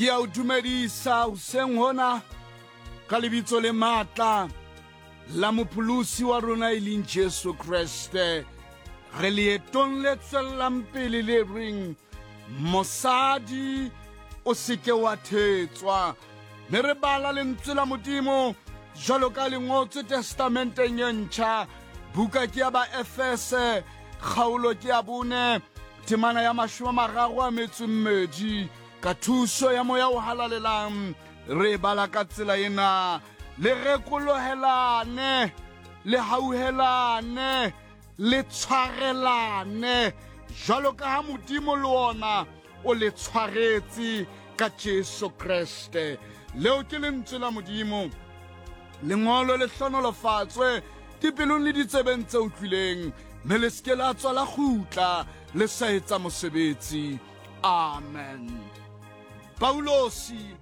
Ke a o dumedisa hoseng hona ka lebitso le matla la mopholosi wa rona e leng Jesu Kreste. Re leetong le tswellang pele le reng mosadi o seke wa thetswa, mme re bala lentswe la Modimo jwalo ka le ngotswe Testamenteng e ntjha, buka ke ya Baefese, kgaolo ke ya 4, temana ya 32. Ka thuso ya Moya o Halalelang re bala ka tsela ena: le rekolohelane, le hauhelane, le tshwarelane, jwalo ka ha Modimo le ona o le tshwaretse ka Jesu Kreste. Leo ke lentswe la Modimo. Lengolo le hlonolofatswe dipelong le ditsebeng tse utlwileng, mme le se ke la tswa la kgutla le sa etsa mosebetsi. Amen. Paulosi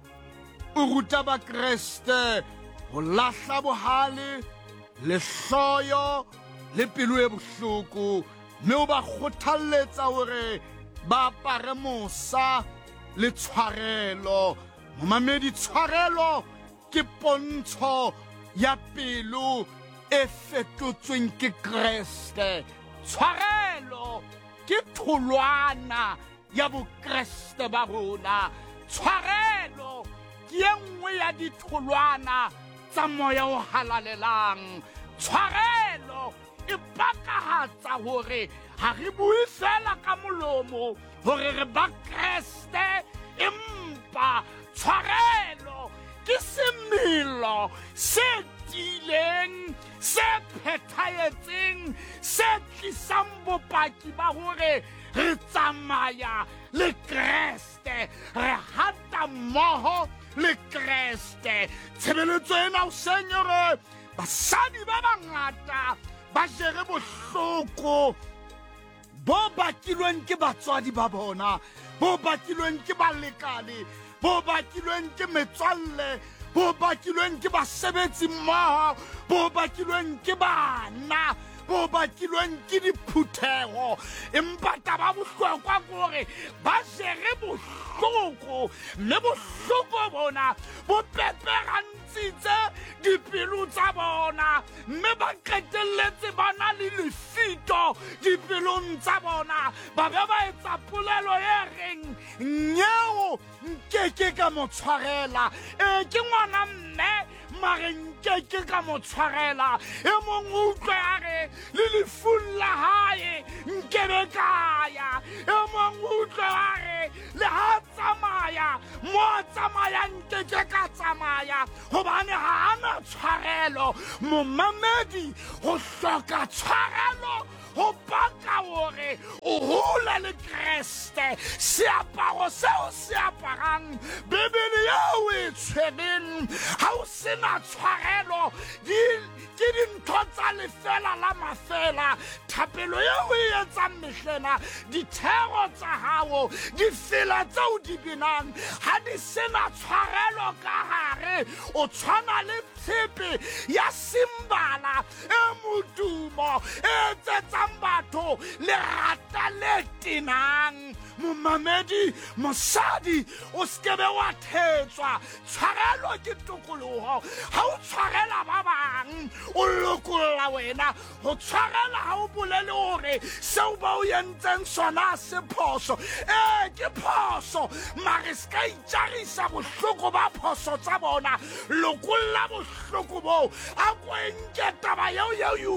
o ruta Bakreste ho lahla bohale, lehloyo le pelo e bohloko, mme o ba kgothalletsa hore ba apare mosa le tshwarelo. Momamedi, tshwarelo ke pontsho ya pelo e fetotsweng ke Kreste. Tshwarelo ke tholwana ya Bokreste ba rona. Tshwarelo ke e nngwe ya ditholwana tsa Moya o Halalelang. Tshwarelo e pakahatsa hore ha re bue fela ka molomo hore re ba Kreste, empa tshwarelo ke semelo se tiileng, se phethahetseng, se tlisang bopaki ba hore re tsamaya le Kreste, re hata mmoho le Kreste. Tshebeletso ena hoseng e re basadi ba bangata ba jere bohloko bo bakilweng ke batswadi ba bona, bo bakilweng ke balekane, bo bakilweng ke metswalle, bo bakilweng ke basebetsi mmoho, bo bakilweng ke bana, bo bakilweng ke diphutheho. Empa taba bohlokwa ke hore ba jere bohloko, mme bohloko bona bo peperantshitse dipelo tsa bona, mme ba qetelletse ba na le lefito dipelong tsa bona, ba be ba etsa polelo e reng nyeo nkeke ka mo tshwarela. E ke ngwana mme, mare nkeke ka mo tshwarela. E mong o utlwe a re le lefung la hae nkebe ka ya. E mong o utlwe a re le ha tsamaya mo a tsamayang nkeke ka tsamaya, hobane ha a na tshwarelo. Momamedi, ho hloka tshwarelo ho paka hore o hole le Kreste. Seaparo seo se aparang, Bibele eo o e tshwereng, ha o sena tshwarelo, ke dintho tsa lefela la mafela. Thapelo eo o e etsang mehlena, dithero tsa hao, difela tseo di binang, ha di sena tshwarelo ka hare, o tshwana le tshepe ya simbala e modumo e etsetsang batho lerata le tenang. Momamedi, mosadi, o sekebe wa thetswa. Tshwarelo ke tokoloho. Ha o tshwarela ba bang, o lokolla wena. Ho tshwarela ha o bolele hore seo ba o entseng sona se phoso. Ee, ke phoso, mare se ka itjarisa bohloko ba phoso tsa bona. Lokolla bohloko boo. A ko e nke taba eo eo e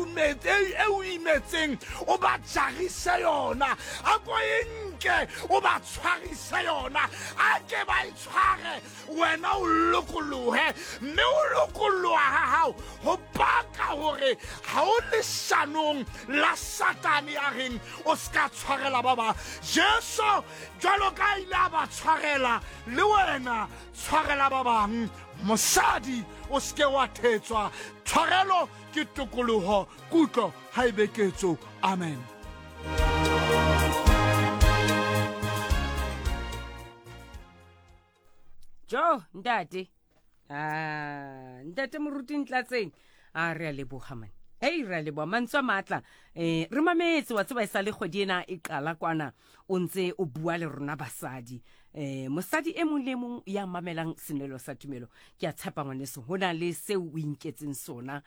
o imetseng, o ba jarise yona. A ko e nke, o ba tshwarise yona. A ke ba e tshware, wena o lokolohe. Mme o lokoloha ha hao ho paka hore ha o leshanong la Satane ya reng o se ka tshwarela ba bang. Jesu jwalo ka ile a ba tshwarela, le wena tshwarela ba bang. Mosadi, o se ke wa thetswa. Tshwarelo ke tokoloho, kutlo ha e be ketso. Amen. Jo, ntate. Ah, ntate moruti Ntlatseng. A re a leboga man. Hei, re a leboga mantswe a matla. Re mametse wa tseba e sa le kgwedi ena e qala kwana o ntse o bua le rona basadi. Um mosadi e mong le e mong ya mamelang Senwelo sa Tumelo, ke a tshepa ngwaneso ho na le seo o inketseng sona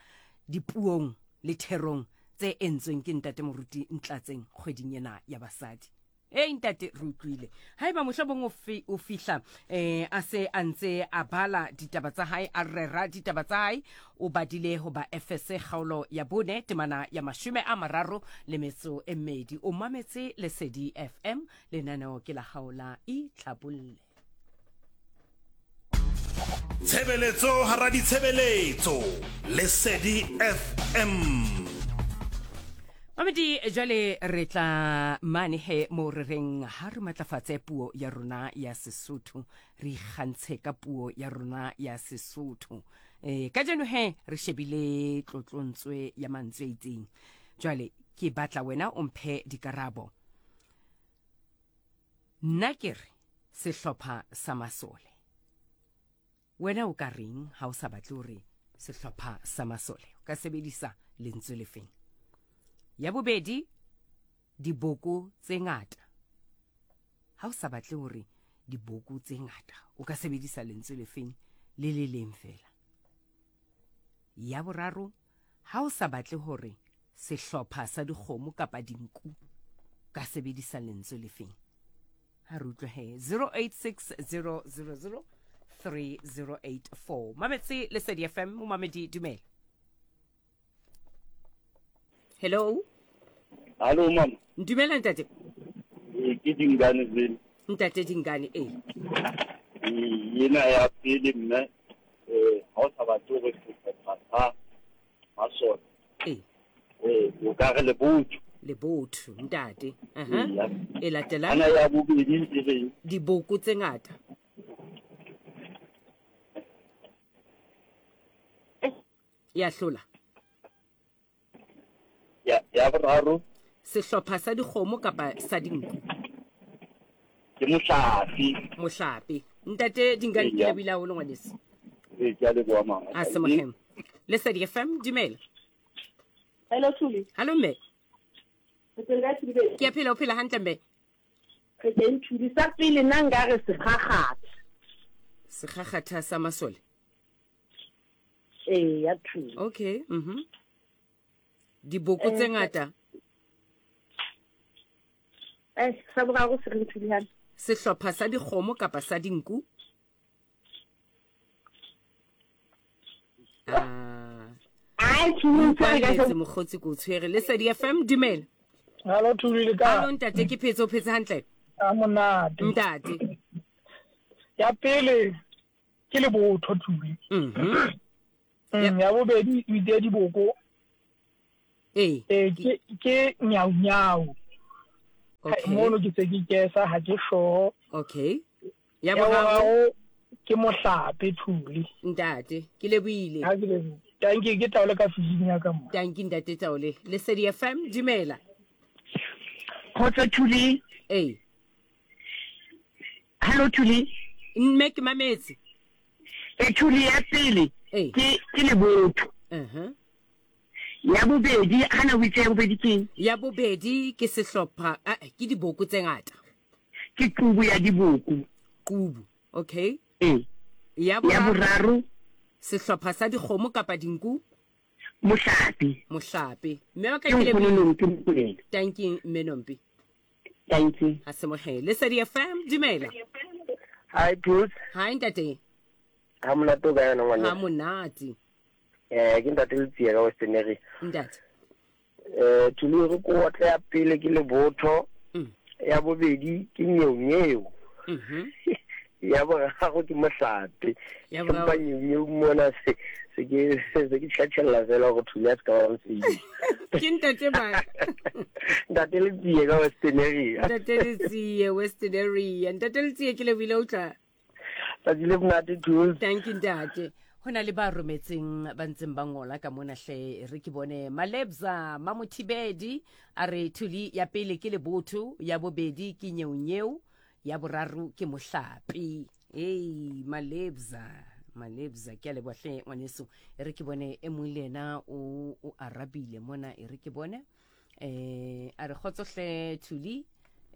dipuong le therong tse entsweng ke Ntate Moruti Ntlatseng kgweding ena ya basadi. Ei ntate, re utlwile. Haeba mohlomong o fi, o fihla eh, a se a ntse a bala ditaba tsa hae, a rera ditaba tsa hae, o badile ho ba Efese kgaolo ya bone temana ya 32. O mametse Lesedi FM, lenaneo ke la hao la Itlhabolle. Tshebeletso hara ditshebeletso, Lesedi FM. Mamedi, jwale re tla mane he mo re reng ha re matlafatse puo ya rona ya Sesotho, re ikgantshe ka puo ya rona ya Sesotho. E, kajeno he re shebile tlotlontswe ya mantswe a itseng. Jwale ke batla wena o mphe dikarabo. Nna ke re sehlopha sa masole. Wena o ka reng ha o sa batle hore sehlopha sa masole? O ka sebedisa lentswe lefeng? Ya bobedi, diboko tse ngata. Ha o sa batle hore diboko tse ngata, o ka sebedisa lentswe lefeng le le leng fela? Ya boraro, ha o sa batle hore sehlopha sa dikgomo kapa dinku, ka sebedisa lentswe lefeng? Ha re utlwe he. 086000 3084. Mametse Lesedi FM, momamedi dumela. Hello. Hallo mama. Dumela ntate. Ee, ke Dingane Zwele. Ntate Dingane ee. Ee, ena ya pele mme eh ha o sa batle hore sehlopha sa masole. Ee. Eh, o ka re lebotho. Lebotho ntate. Aha. E latelang. Ana ya bobedi e reng? Diboko tse ngata. Ya hlola. Ya, ya boraro. Sehlopha sa dikgomo kapa sa dinku? Ke mohlape. Mohlape. Ntate Dingane, ke lebohile haholo ngwaneso. Ee, ke a leboha mama. A se mohem. Lesedi FM, dumela. Hello Thuli. Hallo mme. Re teng kae Thuli baby? Ke a phela, o phela hantle mme? Re teng Thuli. Sa pele nna nka re sekgakgatha. Sekgakgatha sa masole? Ee, ya Thuli. Okay, mhm. Diboko tse ngata. Eh, sa boraro se reng Thuli hane? Sehlopha sa dikgomo kapa sa dinku? Ah. Ai, Thuli, o tshwere ka Kwaletse mokgotsi ko tshwere. Lesedi FM, dumela. Hallo Thuli le kae? Hallo ntate, ke phetse, o phetse hantle? A monate. Ntate. Ya pele ke lebotho Thuli. Mhm. Ya bobedi o itse diboko. Ee. Ee, ke ke nyau nyau. Okay. Mono ke se ke kesa ha ke sure. Okay. Ya Ya boraro boraro ke mohlape Thuli. Ntate, ke lebohile. Ha ke lebohile. Tanki ke taole ka fijing ya ka mo. Tanki ntate Taole. Lesedi FM, dumela. Kgotso Thuli. Ee. Hallo Thuli. Mme ke mametse. E Thuli ya pele Ee. ke ke lebotho. Uh-huh. Ya bobedi hana o itse ya bobedi ke Ya bobedi ke sehlopha, ah, ke diboko tse ngata. Ke qubu ya diboko. Qubu. Okay. Ee. Ya Ya boraro boraro sehlopha sa dikgomo kapa dinku? Mohlape. Mohlape. Mme wa ka Ke ke nkgono lebohile. Nompi Mokoena. Tanki mme Nompi. Thank you. Ha se mohe. Lesedi FM, dumela. Hi Bruce. Hi ntate. Ha monate o ka yona ngwane. Ha monate. Eh ke ntate Letsie ka Western Area. Ntate. Eh Thuli re ko otle ya pele ke lebotho. Ya bobedi ke nyeonyeo. Ya boraro ke mohlape. Ya boraro. Empa nyeonyeo mona se se ke se ke tjhatjhella fela gore Thuli a se ka ba mosebetsi. Ke ntate ba. Ntate Letsie ka Western Area. Ntate Letsie Western Area. Ntate Letsie ke lebohile o tla. Tsatsi le monate Thuli. Thank you ntate. Ho na le ba rometseng ba ntseng ba ngola ka mona hle re ke bone Malebza Mamothibedi a re Thuli ya pele ke lebotho, ya bobedi ke nyeonyeo, ya boraro ke mohlape. Ei Malebza, Malebza ke a leboha hle ngwaneso. E re ke bone e mong le yena o o arabile mona e re ke bone. Eh a re kgotso hle Thuli.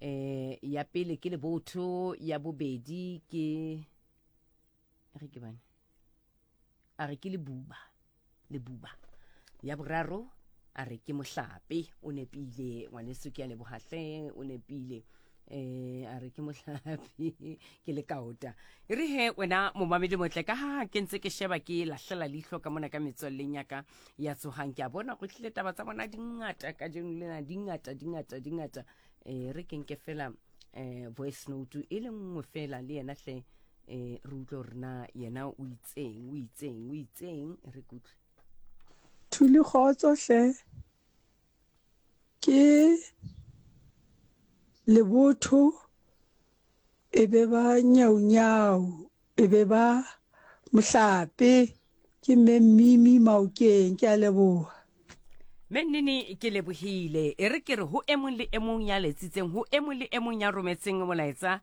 Eh ya pele ke lebotho, ya bobedi ke re ke bane. A re ke lebuba, lebuba. Ya boraro a re ke mohlape. O nepile ngwaneso, ke a leboha hle, o nepile. Eh a re ke mohlape ke le kaota. E re he wena momamedi motle, ka ha ke ntse ke sheba ke lahlela leihlo ka mona ka metswalleng ya ka ya tsohang, ke a bona go tlile taba tsa bona di ngata kajeno lena, di ngata, di ngata, di ngata. Eh re ke nke fela eh voice note e le nngwe fela le yena hle, eh re utlwe hore na yena o itseng, o itseng, o itseng, re kutlwe. Thuli kgotso hle. Ke lebotho e be ba nyaunyau e be ba mohlape. Ke Mme Mmimi Maokeng, ke a leboha. Mme Nnini, ke lebohile. E re ke re ho e mong le e mong ya letsitseng, ho e mong le e mong ya rometseng molaetsa,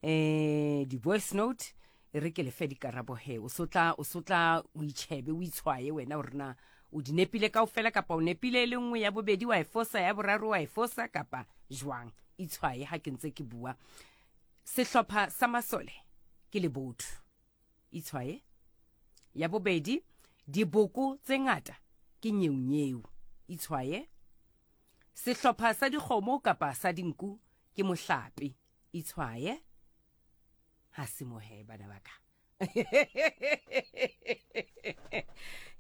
eh di-voice note, e re ke lefe dikarabo he. O sotla, o sotla, o itjhebe, o itshwaye wena hore na o di nepile kaofela kapa o nepile e le nngwe, ya bobedi wa e fosa, ya boraro wa e fosa kapa jwang. Itshwaye ha ke ntse ke bua. Sehlopha sa masole ke lebotho. Itshwaye. Ya bobedi, diboko tse ngata ke nyeunyeu. Itshwaye. Sehlopha sa dikgomo kapa sa dinku ke mohlape. Itshwaye. Ha se mohe bana ba ka.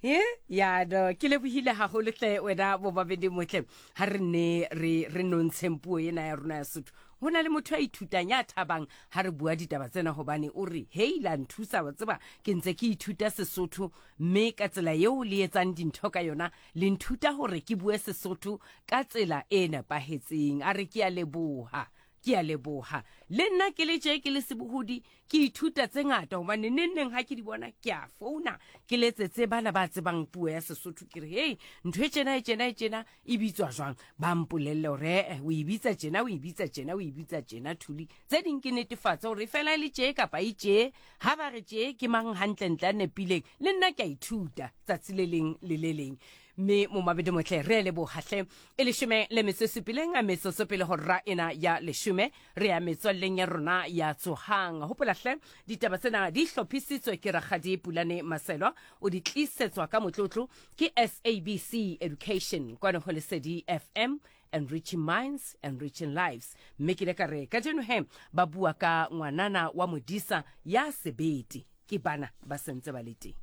He ya no ke lebohile haholo hle wena bobabedi motle. Ha re ne re re nontsheng puo ena ya rona ya Sotho. Ho na le motho ya ithutang ya thabang ha re bua ditaba tsena, hobane o re hei la nthusa, wa tseba ke ntse ke ithuta Sesotho, mme ka tsela eo le etsang dintho ka yona le nthuta hore ke bue Sesotho ka tsela e nepahetseng. A re ke a leboha, ke a leboha. Le nna ke le tje ke le sebohodi ke ithuta tse ngata, hobane neng neng ha ke di bona ke a founa ke letsetse bana ba tsebang puo ya Sesotho, ke re hei ntho e tjena e tjena e tjena e bitswa jwang, ba mpolelle hore eh o e bitsa tjena, o e bitsa tjena, o e bitsa tjena. Thuli tse ding ke netefatse hore fela e le tje kapa e tje, ha ba re tje ke mang hantlentle a nepileng. Le nna ke a ithuta tsatsi le leng le le leng. Mme momabedi motle, re a leboha hle. E leshome le metso e supileng metsotso pele ho ra ena ya leshome, re ya metswalleng ya rona ya tsohang. Hopola hle, ditaba tsena di hlophisitswe ke Rakgadi Pulane Maselwa, o di tlisetswa ka motlotlo ke SABC Education kwano ho Lesedi FM, enriching minds, enriching lives. Mme ke ile ka re kajeno he ba bua ka ngwanana wa modisa ya sebete, ke bana ba sentse ba le teng.